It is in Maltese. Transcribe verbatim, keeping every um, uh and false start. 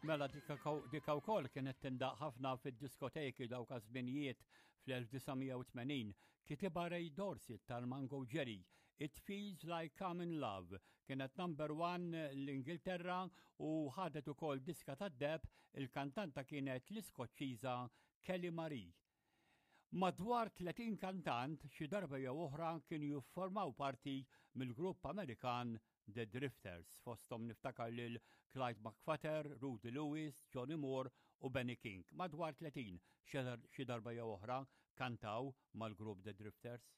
Mela dika wkoll kienet tindaq ħafna fid-diskoteki dawk żminijiet fl-elf disa' mija u tmenin. Kitibha Ray Dorset tal-Mungo Jerry. "It Feels Like I'm in Love" kienet number one l-Ingilterra u ħadet ukoll diska tad-deheb. Il-kantanta kienet l-Iskoċċiża Kelly Marie. Madwar tletin kantant xi darba jew oħra kienu jiffurmaw parti mill-grupp Amerikan The Drifters. Fostom niftakar lil Clyde McPhatter, Rudy Lewis, Johnny Moore u Benny King. Madwar tletin xi darba jew oħra kantaw mal-grupp The Drifters.